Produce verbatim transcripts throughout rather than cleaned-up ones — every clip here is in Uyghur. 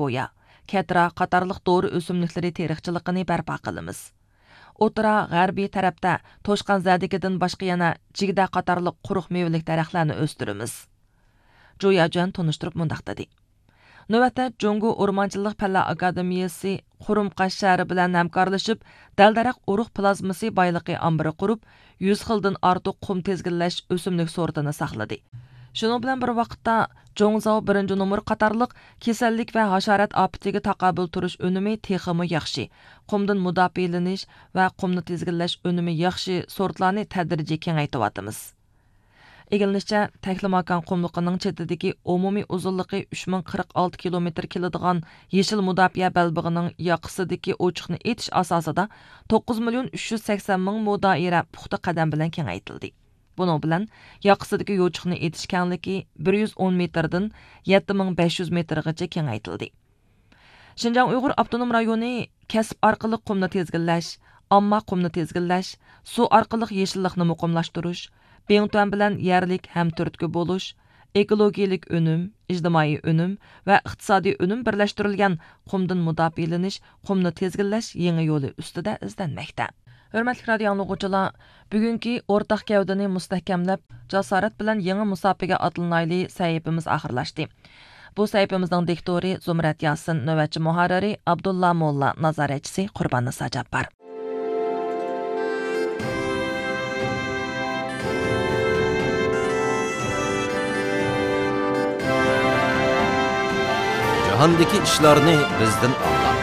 بويا، كەترا قاتارلىق دورا ئۆسۈملۈكلىرى تېرىقچىلىقىنى بەرپا قىلىمىز. ئوتتۇرا، غەربىي تەرەپتە توشقان زەدىكىدىن باشقا يەنە جىگدە قاتارلىق قۇرۇق مېۋىلىك دەرەخلەرنى ئۆستۈرىمىز. جۇ ياجۈەن تونۇشتۇرۇپ مۇنداق دېدى: نۆۋەتتە جۇڭگو ئورمانچىلىق پەنلەر ئاكادېمىيەسى قۇرۇمقاش شەھىرى بىلەن ھەمكارلىشىپ، دەل-دەرەخ ئۇرۇق پلازمىسى بايلىقى ئامبىرى قۇرۇپ، يۈز خىلدىن ئارتۇق قۇم تىزگىنلەش ئۆسۈملۈك سورتىنى ساقلىدى. شۇنىڭ بىلەن بىر ۋاقىتتا، جوڭزاۋ بىرىنچى نومۇر قاتارلىق كېسەللىك ۋە ھاشارات ئاپىتىگە تاقابىل تۇرۇش ئۈنۈمى تېخىمۇ ياخشى، قۇمدىن مۇداپىئەلىنىش ۋە قۇمنى تىزگىنلەش ئۈنۈمى ياخشى سورتلارنى تەدرىجىي كېڭەيتىۋاتىمىز. ئىگىلىنىشىچە، تەكلىماكان قۇملۇقىنىڭ چېتىدىكى ئومۇمىي ئۇزۇنلۇقى ئۈچ مىڭ قىرىق ئالتە كىلومېتىر كېلىدىغان يېشىل مۇداپىئە بەلبېغىنىڭ ياقىسىدىكى ئوچۇقنى ئېتىش ئاساسىدا توققۇز مىليون ئۈچ يۈز سەكسەن مىڭ مو دائىرە پۇختا قەدەم بىلەن كېڭەيتىلدى. بۇنىڭ بىلەن ياقىسىدىكى يوچۇقنى ئېتىش كەڭلىكى بىر يۈز ئون مېتىردىن يەتتە مىڭ بەش يۈز مېتىرغىچە كېڭەيتىلدى. شىنجاڭ ئۇيغۇر ئاپتونوم رايونى كەسىپ ئارقىلىق قۇمنى تىزگىنلەش، ئامما قۇمنى تىزگىنلەش، سۇ ئارقىلىق يېشىللىقنى مۇقىملاشتۇرۇش، بىڭتۈەن بىلەن يەرلىك ھەمتۈرتكە بولۇش، ئېكولوگىيەلىك ئۈنۈم، ئىجتىمائىي ئۈنۈم ۋە ئىقتىسادىي ئۈنۈم بىرلەشتۈرۈلگەن قۇمدىن مۇداپىئەلىنىش، قۇمنى تىزگىنلەش يېڭى يولى ئۈستىدە ئىزدەنمەكتە. ھۆرمەتلىك رادىئو ئاڭلىغۇچىلار، بۈگۈنكى ئورتاق گەۋدىنى مۇستەھكەملەپ، جاسارەت بىلەن يېڭى مۇساپىگە ئاتلىنايلى سەھىپىمىز ئاخىرلاشتى. بۇ سەھىپىمىزنىڭ دىكتورى زۇمرەت ياسىن، نۆۋەتچى مۇھەررىرى ئابدۇللا موللا، نازارەتچىسى قۇربان نىسا جاپپار. جاھاندىكى ئىشلارنى بىزدىن ئاڭلاڭ.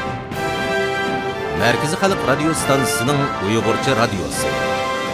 مەركىزىي خەلق رادىيو ستانسىسىنىڭ ئۇيغۇرچە رادىيوسى.